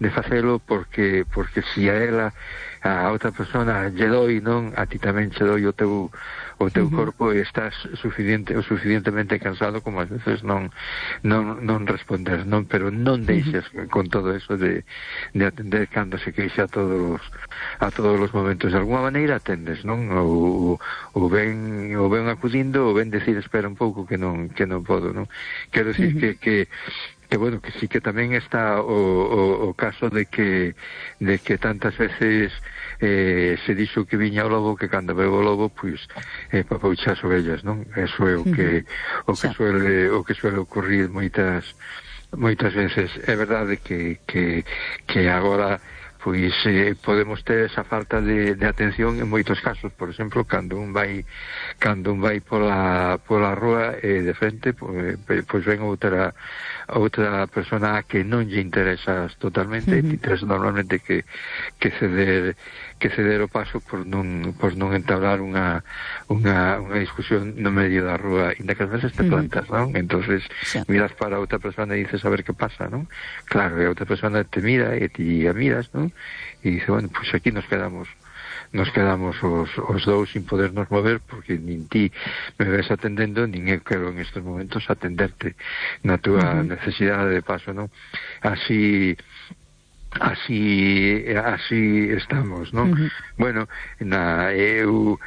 facelo porque si a ela, a outra persona lle doi, non, a ti tamén che doi o teu corpo, e estás suficientemente cansado como ás veces non responder, non, pero non deixes con todo eso de atender cando se queixa a todos os momentos. De alguma maneira atendes, non, ou ben acudindo, ou ben decir espera un pouco que non podo, non. Quero decir que bueno, que sí que tamén está o caso de que tantas veces se dixo que viña o lobo, que cando veo o lobo, pois papoucha as ovellas, non? Eso é o que suele ocurrir moitas veces. É verdade que agora pois podemos ter esa falta de atención en moitos casos. Por exemplo, cando un vai pola rúa de frente, pois ven outra persona que non lle interesas totalmente, e ti tens normalmente que ceder o paso por non entablar unha discusión no medio da rúa, inda que ás veces te plantas, non? Entonces miras para outra persona e dices a ver que pasa, non? Claro, e a outra persona te mira e ti a miras, non? E dice, bueno, pues aquí nos quedamos os dous sin podernos mover, porque nin ti me ves atendendo, nin eu quero en estes momentos atenderte na túa necesidade de paso, non? Así estamos, non? Bueno, eu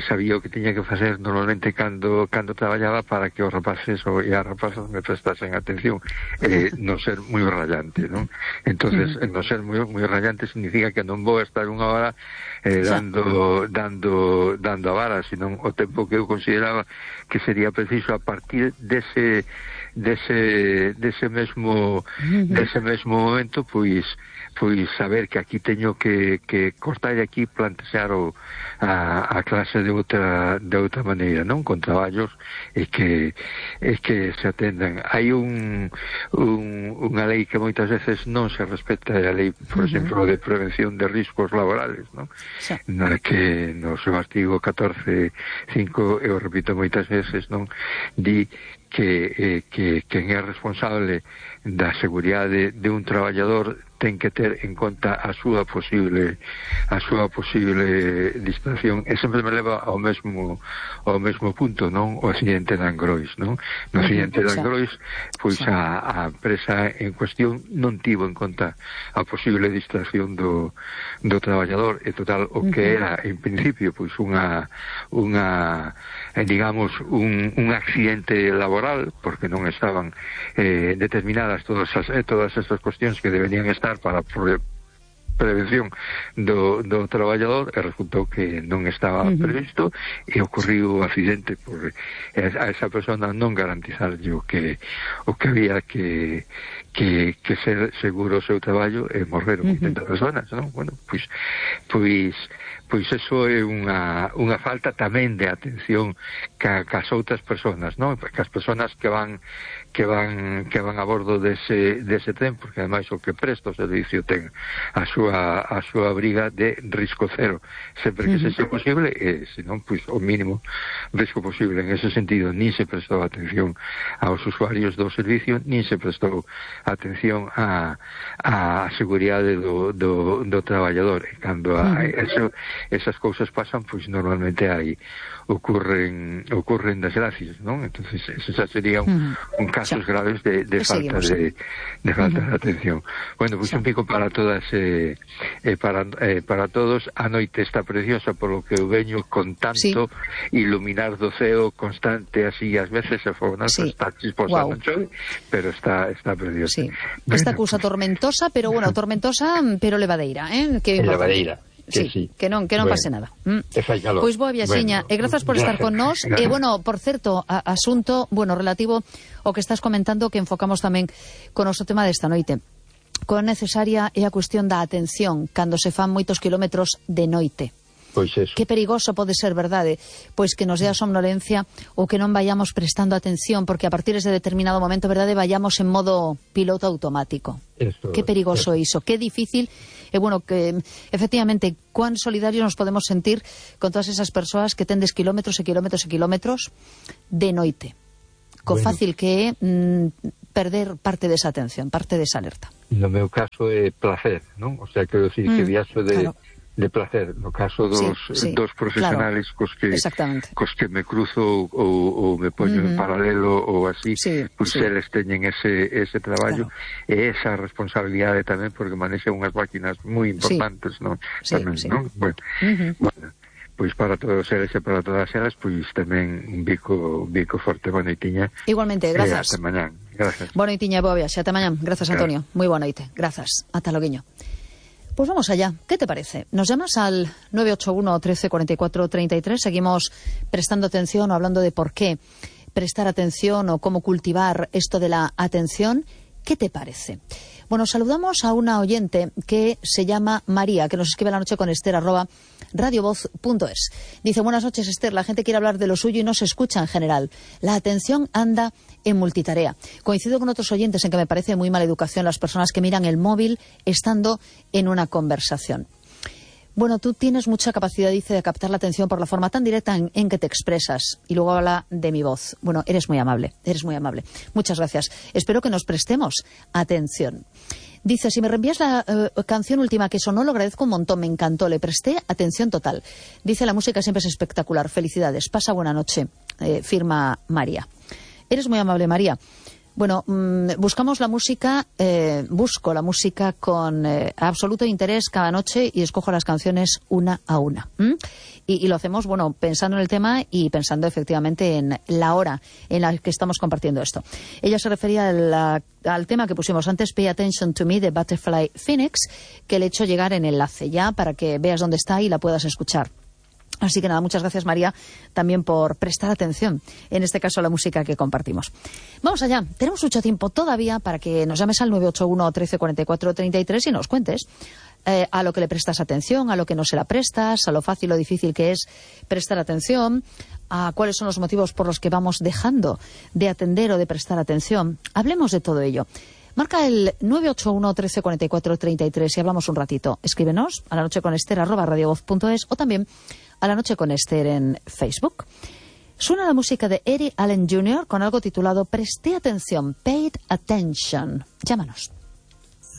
sabía o que tiña que facer normalmente cando traballaba para que os rapaces e as rapazas me prestasen atención, non ser moi rayante, non? Entonces, non ser moi rayante significa que non vou estar unha hora dando a vara, senón o tempo que eu consideraba que sería preciso a partir dese mesmo momento, pois saber que aquí teño que cortar e aquí plantear a clase de outra maneira, non? Con traballos e que se atendan. Hai unha lei que moitas veces non se respeta, a lei, por exemplo, de prevención de riscos laborales, non? Na que no seu artigo 14.5, eu repito moitas veces, non? Di que quen é responsable da seguridade de un traballador ten que ter en conta a súa posible distracción, e sempre me leva ao mesmo punto, non? O accidente de Angrois, non? No accidente de Angrois, pois a empresa en cuestión non tivo en conta a posible distracción do traballador, e total, o que era en principio pois digamos un accidente laboral, porque non estaban determinadas todas estas cuestións que deberían estar para prevención do traballador, e resultou que non estaba previsto, e ocorriu o accidente por a esa persona non garantizarlle o que había que ser seguro o seu traballo, e morreron 80 personas, non? Bueno, pois eso é unha falta tamén de atención cas outras personas, non? Cas personas que van a bordo dese tren, porque ademais o que presta o servicio ten a súa briga de risco cero, sempre que sexa posible, e senón, pois, o mínimo risco posible. En ese sentido, nin se prestou atención aos usuarios do servicio, nin se prestou atención á seguridade do traballador. E cando esas cousas pasan, pois normalmente ocurren desgracias, non? Entonces, ese xa sería un casos graves de falta de atención. Bueno, pois un pico para todas para todos. A noite está preciosa, polo que eu veño con tanto iluminar do ceo constante, así ás veces se fognazo, está chisposa, non chove, pero está preciosa. Esta cousa tormentosa, pero bueno, pero levadeira, que levadeira. Que non pase nada. Pois boa viaxiña, e grazas por estar con nós. E, bueno, por certo, asunto, relativo ao que estás comentando, que enfocamos tamén con o noso tema desta noite. Coa necesaria é a cuestión da atención cando se fan moitos kilómetros de noite. Pois eso. Que perigoso pode ser, verdade? Pois que nos dé a somnolencia ou que non vayamos prestando atención, porque a partir de determinado momento, verdade, vayamos en modo piloto automático. Que perigoso é iso, que difícil. E, bueno, que efectivamente, cuán solidarios nos podemos sentir con todas esas persoas que tendes kilómetros e kilómetros e kilómetros de noite. Co fácil que é perder parte desa atención, parte desa alerta. No meu caso é placer, non? O sea, quero dicir que viaxo de placer. No caso dos profesionales cos que me cruzo ou me poño en paralelo ou así, pois eles teñen ese traballo e esa responsabilidade tamén, porque manexan unhas máquinas moi importantes, non? Tamén, non? Bueno, pois para todos eles e para todas elas, pois tamén un bico forte. Boa noitiña. Igualmente, grazas. Ata mañán. Grazas. Boa noitiña, boa viaxe. Ata mañán. Grazas, Antonio. Moi boa noite. Grazas. Ata loguiño. Pues vamos allá. ¿Qué te parece? Nos llamas al 981 13 44 33. Seguimos prestando atención o hablando de por qué prestar atención o cómo cultivar esto de la atención. ¿Qué te parece? Bueno, saludamos a una oyente que se llama María, que nos escribe la noche con Esther @radiovoz.es. Dice: buenas noches, Esther, la gente quiere hablar de lo suyo y no se escucha en general. La atención anda en multitarea. Coincido con otros oyentes en que me parece muy mala educación las personas que miran el móvil estando en una conversación. Bueno, tú tienes mucha capacidad, dice, de captar la atención por la forma tan directa en que te expresas. Y luego habla de mi voz. Bueno, eres muy amable, eres muy amable. Muchas gracias. Espero que nos prestemos atención. Dice: si me reenvías la canción última que sonó, lo agradezco un montón, me encantó, le presté atención total. Dice: la música siempre es espectacular, felicidades, pasa buena noche. Firma María. Eres muy amable, María. Bueno, buscamos la música, busco la música con absoluto interés cada noche y escojo las canciones una a una. Y lo hacemos, bueno, pensando en el tema y pensando efectivamente en la hora en la que estamos compartiendo esto. Ella se refería al tema que pusimos antes, Pay Attention to Me, de Butterfly Phoenix, que le he hecho llegar en enlace ya para que veas dónde está y la puedas escuchar. Así que nada, muchas gracias, María, también por prestar atención, en este caso a la música que compartimos. Vamos allá, tenemos mucho tiempo todavía para que nos llames al 981 13 44 33 y nos cuentes a lo que le prestas atención, a lo que no se la prestas, a lo fácil o difícil que es prestar atención, a cuáles son los motivos por los que vamos dejando de atender o de prestar atención. Hablemos de todo ello. Marca el 981 13 44 33 y hablamos un ratito. Escríbenos a la noche con Esther @radiovoz.es o también a la noche con Esther en Facebook. Suena la música de Eddie Allen Jr. con algo titulado Presté atención, Paid Attention. Llámanos.